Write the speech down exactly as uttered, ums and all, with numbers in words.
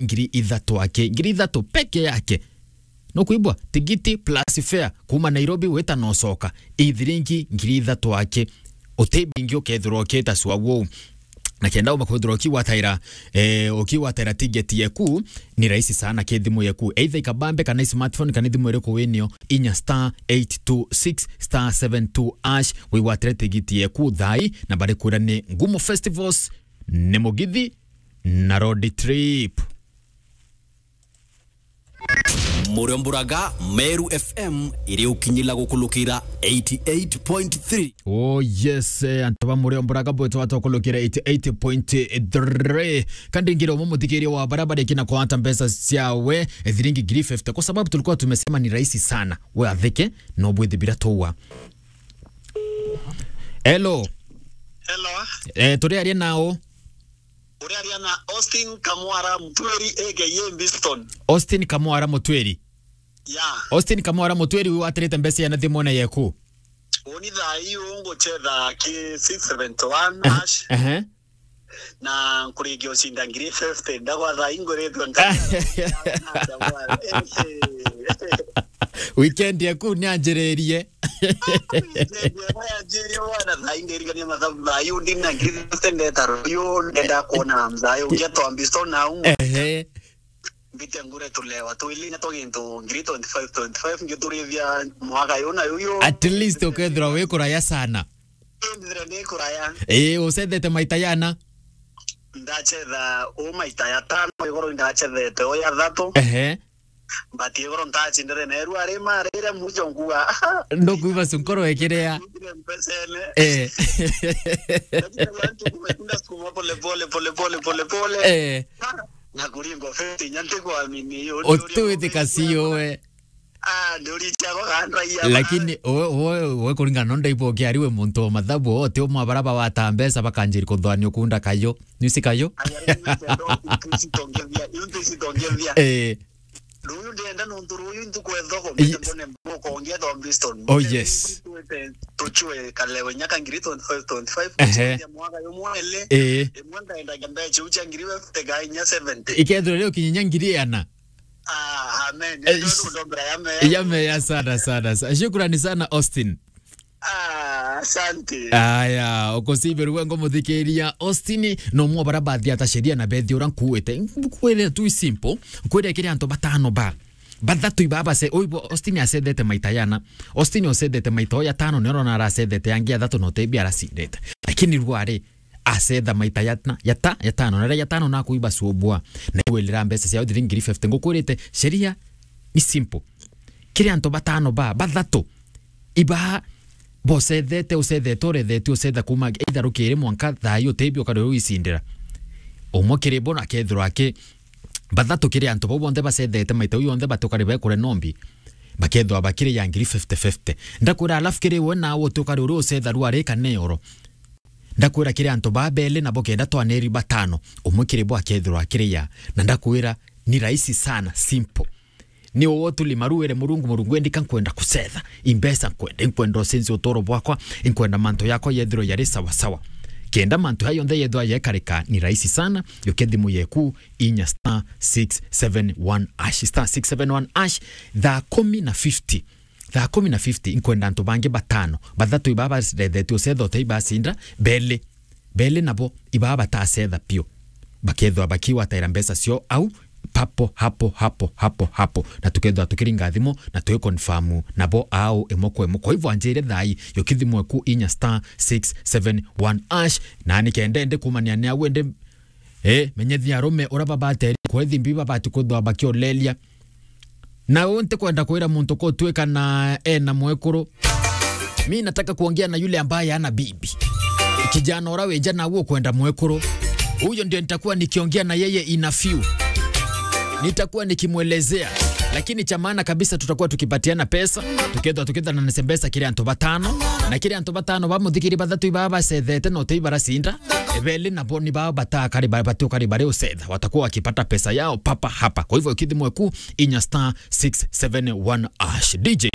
ngiri ithatu aki, ngiri ithatu peke yake. No kuibwa tigiti plus fare kuma Nairobi wita na ucoka, ithiringi ngiri ithatu aki. Uti bingi ukethirwa ukita sua wou. Na kenda umba kwithirwa ukiwataira, eh, ukiwataira tigeti yeku, ni rahisi sana ki thimu yeku. Either ikabambe kana smartphone kana thimu iriku winio, inya star eight two six star seven two hash, wigwatire tigiti yeku thai, na barikwira ni Ngumo Festivals, ni Mugithi, na Road Trip. Muriomburaga, Meru F M iri ukinyila gukulukira eighty eight point three. Oh yes, eh, antu ba Muriomburaga bwetu watokulukira eighty eight point three. Kandi ngire umwe muthikiria wa bara bari kina kwata mbeca ciawe, eh, thiringi ngiri fifty, kwa sababu tulikuwa tumesema ni rahisi sana we athike, no bwithibira tuwa. Hello. Hello. Eh, turi aria nao? Uriaria na Austin Kamwara Mutweri, A K A Biston. Austin Kamwara Mutweri. Yeah. Austin Kamwara Mutweri, wi watirite mbeca ya na thimone yeku? Uni thaa hii unguchetha ki six seventy one hash. Ehe. Na nkuringia ucinda ngiri fifty, ndagwa thaa hii nguritwe nka-, Weekend yaku ni anjiririe. Weekend yakwa yanjiririe bwana, thaa hii ndirigania mathabu, thaa hii ndina ngiri fifty ndeta ruyu, ndenda kuona mzai, ungia twambi so na u. Ehe. Mbite ngure tulewa, twili na twa gintu ngiri twenty five, twenty five, ngiturithia mwaka yu na yu yu. At least ukethirwa wi kuraya sana. Ndithire ndi kuraya. Ii, ucethete maita yana? Ndachetha u maita ya tano, igoro ndachethete u ya thatu. Ehe. But igoro ntachindire neru ari marire mujo ngua. Ndukuiba su nkoro ikiria. Ndutire mpesene. Eh. Lakini watu kumekunda sukuma pole pole, pole pole, pole pole. Eh. Na kuringo fifty, nya ntikwamini, yo, yo, yo, Utuwithika yo, si yo, we. Ah, ndurichagwa gandra iya. Lakini we, we, we kuringana no ndaigua ukiari we muntu wa mathabu, o ti umwe bara bawata mbeca bakanjiri kuthwania ukunda kayo. Nisi kayo? Aya, rĩu nĩ ndo ntucitongethia, rĩu ntucitongethia. Eh. Rũyũ ndenda nontu rũyũ ntuku ethoko, Eh. Mbone mbuko ngia Tom Biston. Oh, yes. Tuchwe kalewe nyaka ngiri twenty five, twenty five, Ehe. Kuchia mwaka yo mwele. Eh. Imwe ndaenda mbeche ucha ngiri fifty ga inya seventy. Ikethirwa rio kinya ngiri ana. Ah, amen. Eh, Ndio is-, ndombera ya me. Ya me ya sana, sana, sana. Shukrani sana, Austin. Ah, asante. Aya, ukusibe ruwe ngo muthikiria. Austin, no mwa bara bathi ata sheria na bethi ura nkuwete. Nkwire tu simple. Nkwire kiri antu batano ba. Bathatu iba base, oibo Austin acethete maita yana. Austin ocethete maita o ya tano, nero na aracethete angi athatu no tebi aracindete. Lakini rwari, acetha maita ya na, ya ta, ya tano, na ria ya tano na kuiba subwa. Na iwelera mbeca cia thiringi ngiri fifty. Ngukwirite, sheria ni simple. Kiri antu batano ba, bathatu, iba bocethete, ucethete, urethetio, ucetha kuma either rukiri mwanka thaa iyo tebi ukari uicindira. Umwe kiri bo na kethirwa aki, bathatu kiri antu bau bonthe bacethete maita u yonthe batukari bekure nombi. Bakethwa bakiri ya ngiri fifty fifty. Ndakwira alafu kiri we na utukari uri ucetha rwari kana oro. Ndakwira kiri antu ba beli nabo kenda twaneri batano, umwe kiri bo akethirwa akiri ya, na ndakwira ni rahisi sana, simple. Ni uwo tuli maruire Murungu, Murungu endi ka nkwenda kucetha, imbeca nkwenda, inkwenda ucenjie utoro bwakwa, inkwenda mantu yakwa yethirwe yari sawa sawa. Kenda mantu ya yonthe yethwa yekarika ni rahisi sana, yuke thimu yeku inya star six seven one hash, star six seven one hash, thaa kumi na fifty. Thaa kumi na fifty, inkwenda antu bangi batano, bathatu iba barethetio ucetha utei bacinda, beli, beli nabo iba batacetha pio. Bakethwa bakiwataira mbeca cio au, papo, hapo, hapo, hapo, hapo. Na tukethwa tukiringa thimu, na twi confirm nabo au imwe kwa imwe. Kwa hivyo anjire thai, yuki thimu eku inya star six seven one hash, na nikenda ndi kumania ni au ndi, eh, menyethia arume ura babateri, kwa thimbi babati kuthwa bakiolelia. Na u ntikwenda kwira muntu kutwika na ena mwekuru. Mi nataka kuongea na yule ambaye ana bibi. Kijana ura wija na uo kwenda mwekuru. Huyo ndio nitakuwa nikiongea na yeye in a few. Nitakuwa nikimwelezea. Lakini cha maana kabisa tutakuwa tukipatiana pesa. Tukethwa, tukethwa na nese mbeca kiri antu batano. Na kiri antu batano ba muthikiri bathatu iba bacethete no tei baracinda. Ebeli nabo ni bao batakari ba-, batukari bari ucetha. Watakuwa wakipata pesa yao papa hapa. Kwa hivyo kithimwe ku inya star six seven one hash. D J.